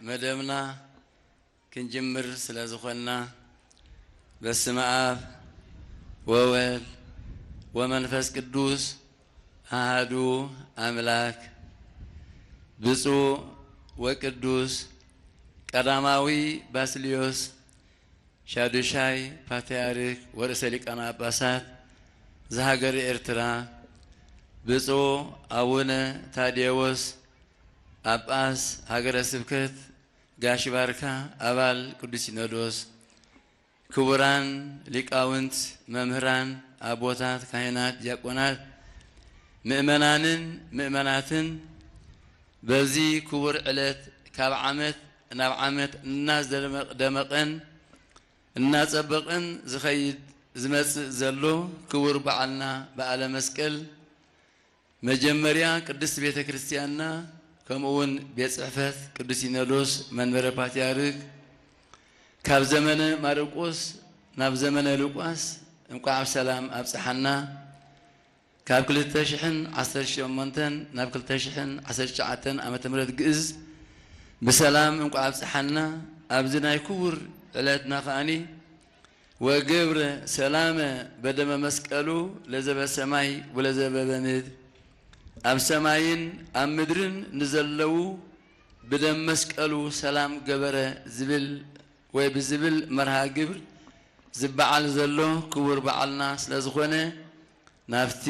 መደብና ክንጅምር ስለ ዝኾንና፣ በስመ ኣብ ወወልድ ወመንፈስ ቅዱስ ኣሃዱ ኣምላክ። ብፁዕ ወቅዱስ ቀዳማዊ ባስልዮስ ሻዱሻይ ፓትርያርክ ወርእሰ ሊቃነ ጳጳሳት ዘሃገረ ኤርትራ፣ ብፁዕ ኣቡነ ታዴዎስ ጳጳስ ሃገረ ስብከት ጋሽ ባርካ፣ ኣባል ቅዱስ ሲኖዶስ፣ ክቡራን ሊቃውንት፣ መምህራን፣ ኣቦታት፣ ካህናት፣ ዲያቆናት፣ ምእመናንን ምእመናትን፣ በዚ ክቡር ዕለት ካብ ዓመት ናብ ዓመት እናደመቕ-፣ ደመቐን እናጸበቐን ዝኸይድ ዝመጽእ ዘሎ ክቡር በዓልና በዓለ መስቀል፣ መጀመርያ ቅድስት ቤተ ክርስቲያንና፣ ከምኡ እውን ቤት ጽሕፈት ቅዱስ ሲኖዶስ መንበረ ፓትርያርክ፣ ካብ ዘመነ ማርቆስ ናብ ዘመነ ሉቃስ እንቋዕ ብሰላም ኣብጽሓና። ካብ ክልተ ሽሕን ዓሰርተ ሸሞንተን ናብ ክልተ ሽሕን ዓሰርተ ትሽዓተን ዓመተ ምህረት ግእዝ ብሰላም እንቋዕ ኣብጽሓና። ኣብዚ ናይ ክቡር ዕለትና ከኣኒ "ወገብረ ሰላመ በደመ መስቀሉ ለዘበ ሰማይ ወለዘበ በምድር"፣ ኣብ ሰማይን ኣብ ምድርን ንዘለዉ ብደም መስቀሉ ሰላም ገበረ ዝብል ወይ ብዝብል መርሃ ግብር ዝበዓል ዘሎ ክቡር በዓልና ስለ ዝኾነ፣ ናብቲ